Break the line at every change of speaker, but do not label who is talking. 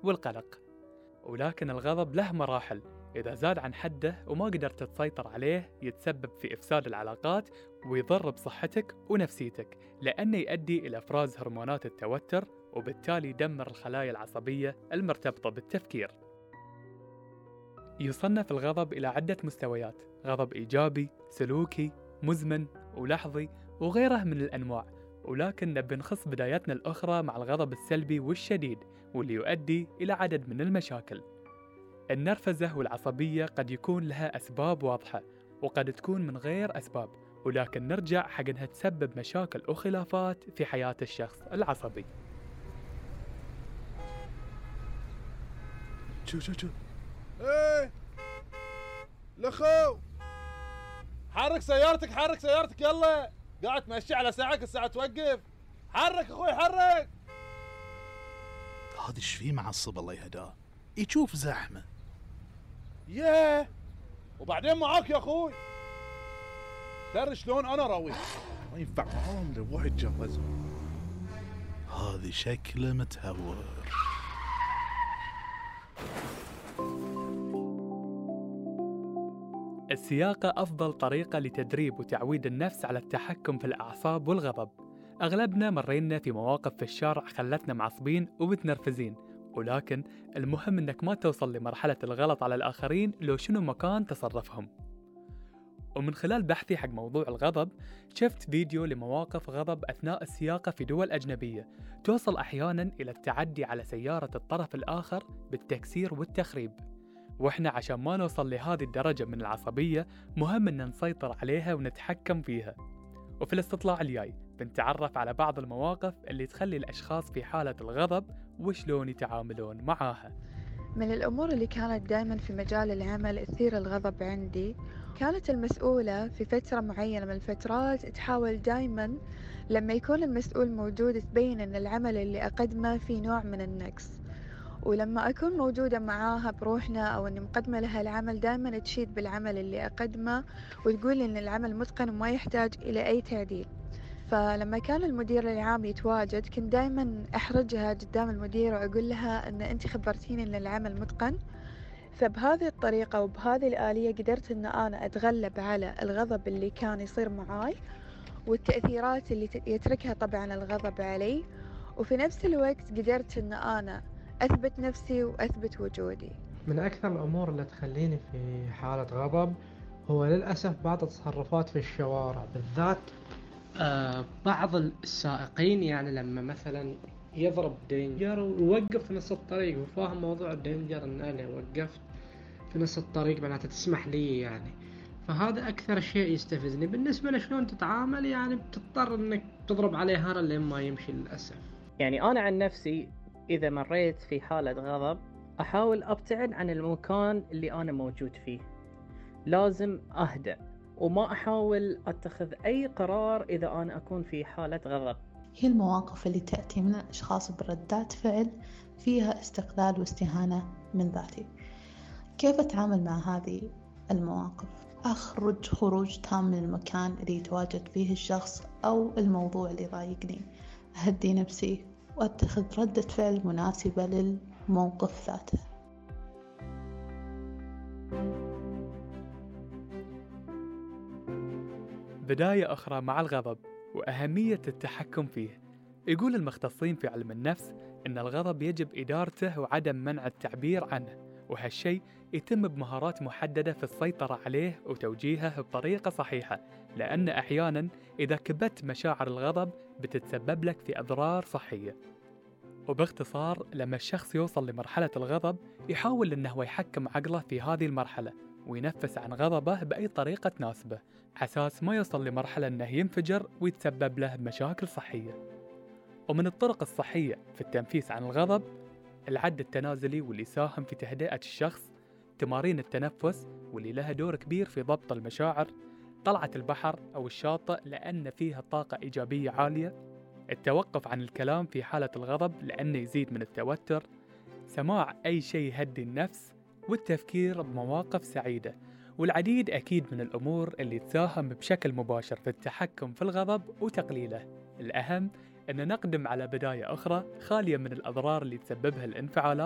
والقلق. ولكن الغضب له مراحل، إذا زاد عن حده وما قدرت تسيطر عليه يتسبب في إفساد العلاقات ويضر بصحتك ونفسيتك، لأنه يؤدي إلى إفراز هرمونات التوتر وبالتالي يدمر الخلايا العصبية المرتبطة بالتفكير. يصنف الغضب إلى عدة مستويات: غضب إيجابي، سلوكي، مزمن، ولحظي، وغيره من الأنواع. ولكن نبي نخص بدايتنا الأخرى مع الغضب السلبي والشديد، واللي يؤدي إلى عدد من المشاكل. النرفزة والعصبية قد يكون لها أسباب واضحة، وقد تكون من غير أسباب، ولكن نرجع حق أنها تسبب مشاكل وخلافات في حياة الشخص العصبي.
شو ايه لخو، حرك سيارتك يلا، قاعد تمشي على ساعك، الساعة توقف. حرك اخوي حرك.
هذا ايش فيه معصب الله يهداه، يشوف زحمة.
ياه، وبعدين معاك يا اخوي. ترى شلون انا راوي، ما ينفع معاهم لو واحد جوزه.
هذا شكله متهور.
السياقة أفضل طريقة لتدريب وتعويد النفس على التحكم في الأعصاب والغضب. أغلبنا مرينا في مواقف في الشارع خلتنا معصبين ومتنرفزين، ولكن المهم إنك ما توصل لمرحلة الغلط على الآخرين لو شنو مكان تصرفهم. ومن خلال بحثي حق موضوع الغضب شفت فيديو لمواقف غضب أثناء السياقة في دول أجنبية توصل أحياناً إلى التعدي على سيارة الطرف الآخر بالتكسير والتخريب. وإحنا عشان ما نوصل لهذه الدرجة من العصبية مهم إن نسيطر عليها ونتحكم فيها. وفي الاستطلاع الجاي بنتعرف على بعض المواقف اللي تخلي الأشخاص في حالة الغضب وشلون يتعاملون معاها.
من الأمور اللي كانت دائما في مجال العمل تثير الغضب عندي، كانت المسؤولة في فترة معينة من الفترات تحاول دائما لما يكون المسؤول موجود تبين أن العمل اللي أقدمه فيه نوع من النقص، ولما أكون موجودة معاها بروحنا أو أني مقدمة لها العمل دائما تشيد بالعمل اللي أقدمه وتقول أن العمل متقن وما يحتاج إلى أي تعديل. فلما كان المدير العام يتواجد كنت دائما أحرجها قدام المدير وأقول لها أن أنت خبرتيني أن العمل متقن. فبهذه الطريقة وبهذه الآلية قدرت أن أنا أتغلب على الغضب اللي كان يصير معاي والتأثيرات اللي يتركها طبعا الغضب علي، وفي نفس الوقت قدرت أن أنا أثبت نفسي وأثبت وجودي.
من أكثر الأمور اللي تخليني في حالة غضب هو للأسف بعض التصرفات في الشوارع، بالذات بعض السائقين، يعني لما مثلا يضرب دينجر ويوقف في نص الطريق وفاهم موضوع الدينجر ان انا وقفت في نص الطريق معناته تسمح لي يعني. فهذا اكثر شيء يستفزني. بالنسبة لشلون تتعامل، يعني بتضطر انك تضرب عليه هرا لين ما يمشي للأسف.
يعني انا عن نفسي اذا مريت في حالة غضب احاول ابتعد عن المكان اللي انا موجود فيه، لازم اهدأ وما أحاول أتخذ أي قرار إذا أنا أكون في حالة غضب.
هي المواقف اللي تأتي من الأشخاص بردات فعل فيها استقلال واستهانة من ذاتي. كيف أتعامل مع هذه المواقف؟ أخرج خروج تام من المكان اللي يتواجد فيه الشخص أو الموضوع اللي ضايقني، أهدي نفسي وأتخذ ردة فعل مناسبة للموقف ذاته.
بداية أخرى مع الغضب وأهمية التحكم فيه. يقول المختصين في علم النفس إن الغضب يجب إدارته وعدم منع التعبير عنه، وهالشيء يتم بمهارات محددة في السيطرة عليه وتوجيهه بطريقة صحيحة، لأن أحياناً إذا كبت مشاعر الغضب بتتسبب لك في أضرار صحية. وباختصار لما الشخص يوصل لمرحلة الغضب يحاول إنه يحكم عقله في هذه المرحلة وينفس عن غضبه بأي طريقة تناسبه، حساس ما يوصل لمرحلة أنه ينفجر ويتسبب له بمشاكل صحية. ومن الطرق الصحية في التنفيس عن الغضب العد التنازلي، واللي يساهم في تهدئة الشخص، تمارين التنفس واللي لها دور كبير في ضبط المشاعر، طلعة البحر أو الشاطئ لأن فيها طاقة إيجابية عالية، التوقف عن الكلام في حالة الغضب لأنه يزيد من التوتر، سماع أي شيء يهدي النفس، والتفكير بمواقف سعيدة، والعديد أكيد من الأمور اللي تساهم بشكل مباشر في التحكم في الغضب وتقليله. الأهم أن نقدم على بداية أخرى خالية من الأضرار اللي تسببها الانفعالات